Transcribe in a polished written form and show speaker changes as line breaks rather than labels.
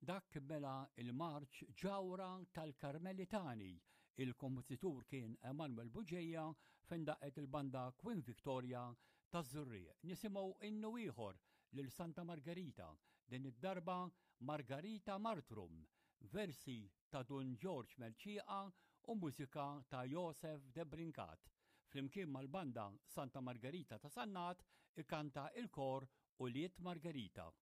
Dak mela il-marċ Ġawra tal-Karmelitani. Il-kompożitur kien Emanuel Bugeja fejn daqqet il-banda Queen Victoria taż-Żurrieq. Nisimgħu innu ieħor lil Santa Margherita, din id-darba Margarita Martrum, versi ta' Dun Ġorġ Mercieqa u mużika ta' Josef Debrincat. Flimkien mal-banda Santa Margherita ta' Sannat ikanta il-kor Ulied Margherita.